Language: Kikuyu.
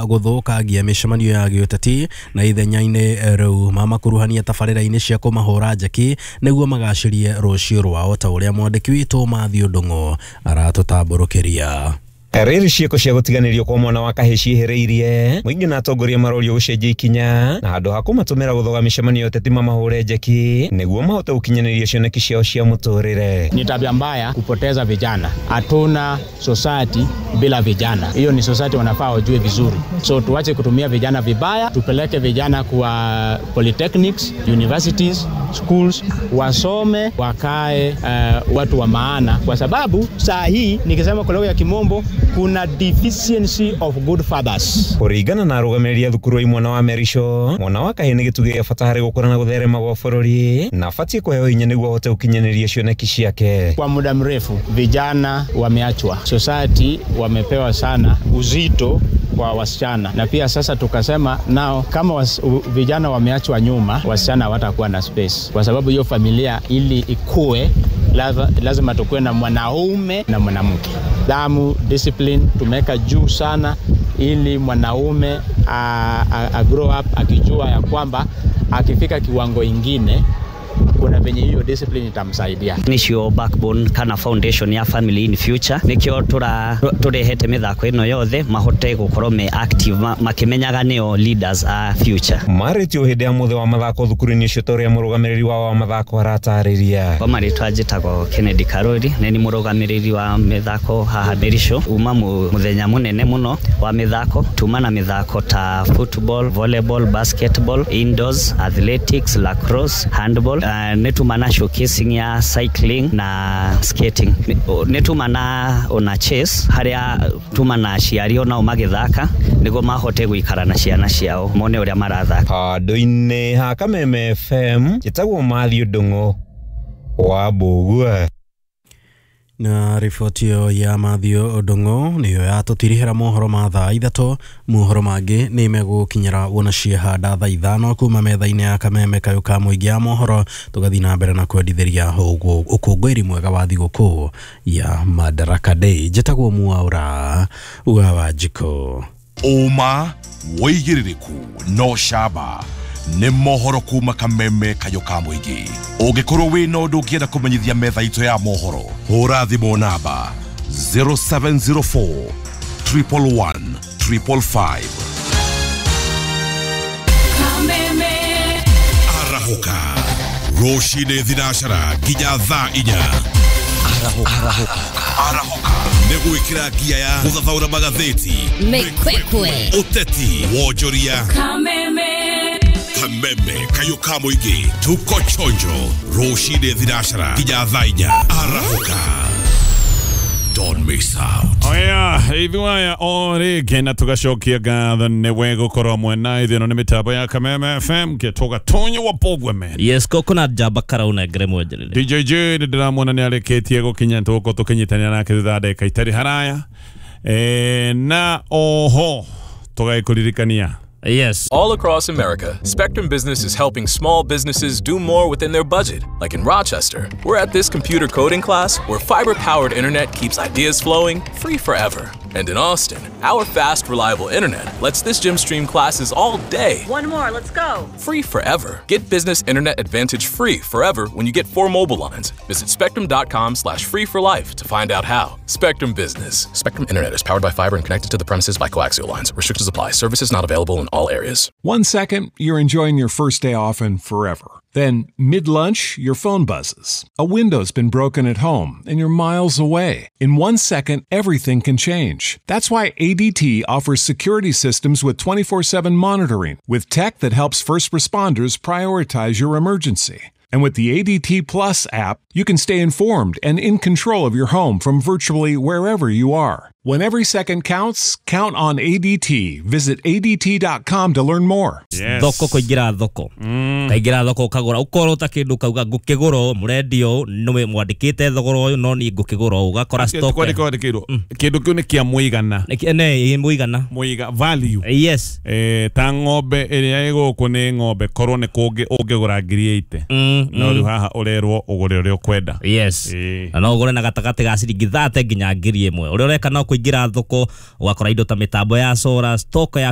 Gũthũkangia mĩcemanio ya gĩũteti na ithenya-inĩ rĩu mamakuruhania tabarĩra-inĩ cia kũmahũra njeki nĩguo magacĩrie rũciũ rwao ta ũrĩa mwandĩki witũ Matthew Ndung'u aratũtambũrũkĩria. Rĩrĩ ciĩko cia gũtiganĩrio kwa mwana wa kahĩĩ ciĩhĩrĩirie mũingĩ na atongoria marorio gũcenjia ikinya na handũ ha kũmatũmĩra gũthoga mĩcemanio ya ũteti mamahũre njeki nĩguo mahote gũkinyanĩria cioneki ciao cia mũtũrĩre. Ni tabia mbaya kupoteza vijana. Hatuna society bila vijana. Hiyo ni society wanafaa wajue vizuri. So tuache kutumia vijana vibaya, tupeleke vijana kwa polytechnics, universities, schools, wasome, wakae watu wa maana, kwa sababu saa hii nikisema kwa lugha ya Kimombo kuna deficiency of good fathers. Kũringana na arũgamĩrĩri a thukuru wa imwana wa Merisho, mwana wa kahĩĩ nĩ gĩtugĩ gĩa bata harĩ gũkũra na gũtherema gwa bũrũri na abatiĩ kũheo hinya nĩguo ahote gũkinyanĩria cioneki ciake. Kwa muda mrefu vijana wameachwa, society wamepewa sana uzito kwa wasichana, na pia sasa tukasema nao kama vijana wameachwa nyuma, wasichana hawatakuwa na space, kwa sababu hiyo familia ili ikue lazima tukue na mwanaume na mwanamke. Damu, discipline tumeweka juu sana ili mwanaume a grow up akijua ya kwamba akifika kiwango ingine kuna venye hiyo discipline itamsaidia. Nicio backbone kana foundation ya family in future nikio turehete mithako ino yothe mahote gukorwo me active makimenyaga nio leaders a future. Marĩtio hĩndĩ ya mũthĩ wa mathako thukuru-inĩ ũcio ta ũrĩa mũrũgamĩrĩri wao wa mathako aratarĩria. Kwa marĩtwa njĩtagwo Kennedy Karori, nĩ mũrũgamĩrĩri wa mĩthako haha Merisho. Uma mũthenya mũnene mũno wa mĩthako, tuma na mĩthako ta football, volleyball, basketball, indoors, athletics, lacrosse, handball. Nĩ tuma na showcasing ya cycling na skating. Nĩ tuma na ona chess harĩa tuma na aciari onao magĩthaka nĩguo mahote gũikara na ciana ciao mone ũrĩa marathaka. Handũ-inĩ ha Kameme FM njĩtagwo Matthew Ndung'u wa Mbũgua. Na riboti ĩyo ya Matthew Ndung'u nĩyo yatũtirihĩra mohoro ma thaa 3. Mohoro mangĩ nĩ megũkinyĩra wona ciehanda thaa 5 kuma metha-inĩ ya Kameme kayũ ka mũingĩ ya mohoro, tũgathiĩ na mbere na kwendithĩria ũkũngũĩri mwega wa thigũkũ ya Madaraka Day. Njĩtagwo Mwaura wa Wanjikũ. Ũma wĩigĩrĩrĩku no camba nĩ mohoro kuma Kameme kayũ ka mũingĩ. Ũngĩkorwo wĩna ũndũ ũngĩenda kũmenyithia metha itũ ya mohoro, hũra thimũ namba 0704 111 555. Kameme Arahũka rũcinĩ thinacara nginya thaa 4. Arahũka nĩ gwĩkĩra ngia ya gũthathaũra magathĩti, Mĩkwekwe, ũteti, wonjoria. Kameme Kameme kayũ ka mũingĩ, tuko chonjo rũcinĩ thinacara nginya thaa 4. Arahũka, don't miss out. Oya, ithuaya o rĩngĩ na tũgacokia ngatho nĩwe gũkorwo mwena ithuĩ. Ĩno nĩ mĩtambo ya Kameme FM gĩtũga Tonyo wa Bogwe man. Yes, coconut jamba karauna ngere mwenjerere. DJ J nĩ ndĩramuona nĩ arĩkĩtie gũkinya, tũgũkorwo tũkĩnyitanĩra nake thutha wa ndagĩka itarĩ haraya. Na oho tũgagĩkũririkania. Yes. All across America, Spectrum Business is helping small businesses do more within their budget. Like in Rochester, we're at this computer coding class where fiber-powered internet keeps ideas flowing free forever. And in Austin, our fast, reliable internet lets this gym stream classes all day. One more, let's go. Free forever. Get business internet advantage free forever when you get 4 mobile lines. Visit spectrum.com/free for life to find out how. Spectrum Business. Spectrum Internet is powered by fiber and connected to the premises by coaxial lines. Restrictions apply. Services not available in all areas. 1 second, you're enjoying your first day off and forever. Then, mid-lunch, your phone buzzes. A window's been broken at home, and you're miles away. In 1 second, everything can change. That's why ADT offers security systems with 24/7 monitoring, with tech that helps first responders prioritize your emergency. And with the ADT Plus app, you can stay informed and in control of your home from virtually wherever you are. When every second counts, count on ADT. Visit ADT.com to learn more. Yes. Thoko kũingĩra thoko. Kaingĩra thoko ũkagũra ũkorwo ta kĩndũ kauga ngũkĩgũra ũũ mũrendio nĩ mwandĩkĩte thogora ũyũ no niĩ ngũkĩgũra ũũ ũgakora stock. Kwandĩka wandĩkĩirwo kĩndũ kĩu nĩ kĩa mũigana. Nĩ mũigana. Mũiga value. Yes. Ta ng'ombe ĩrĩa ĩgũkũ nĩ ng'ombe korwo nĩ kũngĩ ũngĩgũra 80,000. No rĩu haha ũrerwo ũgũre ũrĩa ũkwenda. Yes. Na no ũgũre na gatagatĩ ga ciringi 30 nginya 1,000. Ũrĩa ũreka no kuingira thoko ugakora indo ta mitambo ya solar, stock ya